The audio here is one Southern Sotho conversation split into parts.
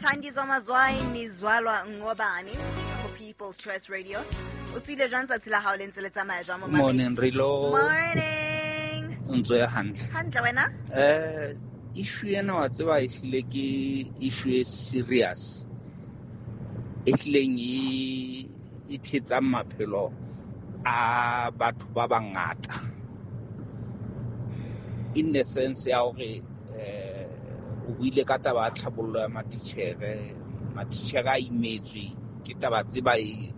Thandiswa Mazwai Nizwalwa Ngobani for People's Choice Radio. O tswile jwang tsatsi la hao le ntse le tsamaya jwang momamedi? Morning Rilo. Morning. O ntso ya hantle. Hantle wena? Issue ena wa tseba e hlile ke issue e serious. E hlileng e thetsang maphelo a batho ba bangata. In the sense ya hore o buile ka taba ya tlhabollo ya matitjhere, matitjhere a imetswe ke taba tse ba e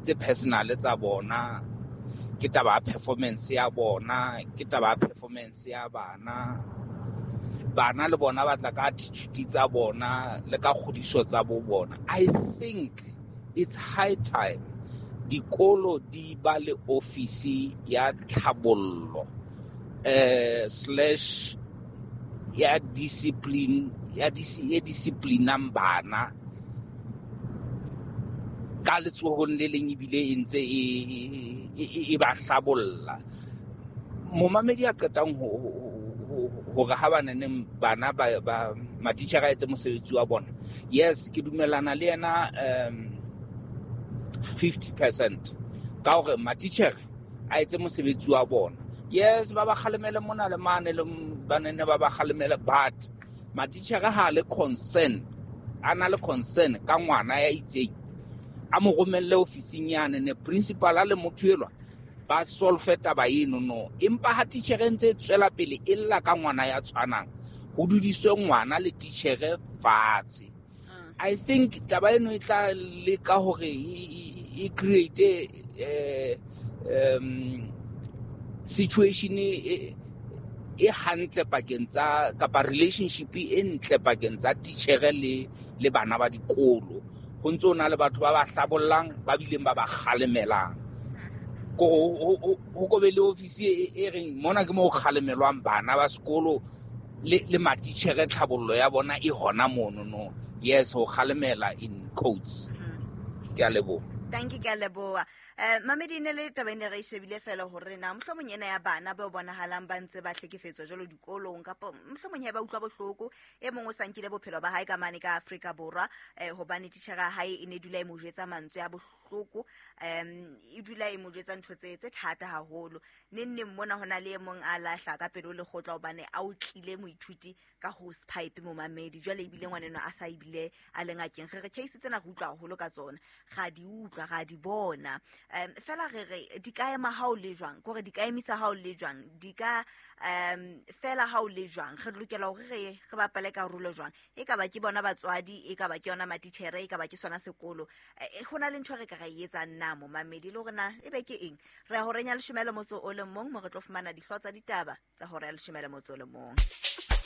tse personal tsa bona, ke taba ya performance ya bona, ke taba ya performance ya bana. Bana le bona ba tla ka attitude tsa bona le ka kgodiso tsa bo bona. I think it's high time dikolo di ba le office ya tlhabollo, slash ya discipline, ya e disciplinang bana ka letsohong le leng ebile e ntse e ba hlabolla. Momamedi a qetang hore ha ba neng bana ba matitjhere a etse mosebetsi wa bona. Yes, ke dumellana le yena, 50% ka hore matitjhere a etse mosebetsi wa bona. Yes, ba ba kgalemele mona le mane le ba nene ba ba kgalemele, but matitjhere ha le concern, a na le concern ka ngwana ya itseng, a mo romelle ofising yane, ne principal a le motho elwa ba solve taba eno no. Empa ha titjhere ntse e tswela pele e lla ka ngwana ya tshwanang, ho dudiswe ngwana le titjhere fatshe. I think taba eno e tla leka hore e create situation e hantle pakeng tsa, kapa relationship e ntle pakeng tsa titjhere le bana ba dikolo. Ho ntso na le batho ba ba hlabollang, ba bileng ba ba kgalemelang. Ho ko be le office e reng mona ke mo ho kgalemelwang bana ba sekolo le matitjhere, tlhabollo ya bona e hona mono no. Yes, ho kgalemela in quotes. Ke a leboha. Thank you, ke a leboha. Mamedi, ne le taba e ne re e shebile fela hore na mohlomong ena ya bana ba bonahalang ba ntse ba hlekefetswa jwalo dikolong, kapa mohlomong he ba utlwa bohloko, e mong o sa nkile bophelo ba hae ka mane ka Afrika Borwa, hobane titjhere ya hae e ne dula e mo jwetsa mantswe a bohloko, e dula e mo jwetsa ntho tse thata haholo. Neng neng mona hona le e mong a lahla ka pele ho lekgotla hobane a otlile moithuti ka hose pipe momamedi. Jwale ebile ngwaneno a sa ebile a le ngakeng. Re re case tsena re utlwa haholo ka tsona, ra di utlwa, ra di bona. Fela re re di ka ema ha o le jwang, ke hore di ka emisa ha o le jwang, di ka fela ha o le jwang. Re lokela hore re bapale karolo jwang, e ka ba ke bona batswadi, e ka ba ke yona matitjhere, e ka ba ke sona sekolo. Ho na le ntho re ka ra e etsang na momamedi, le hore na e be ke eng? Re ya horeng ya 11 mo re tlo fumana dihlooho tsa ditaba tsa hora ya 11.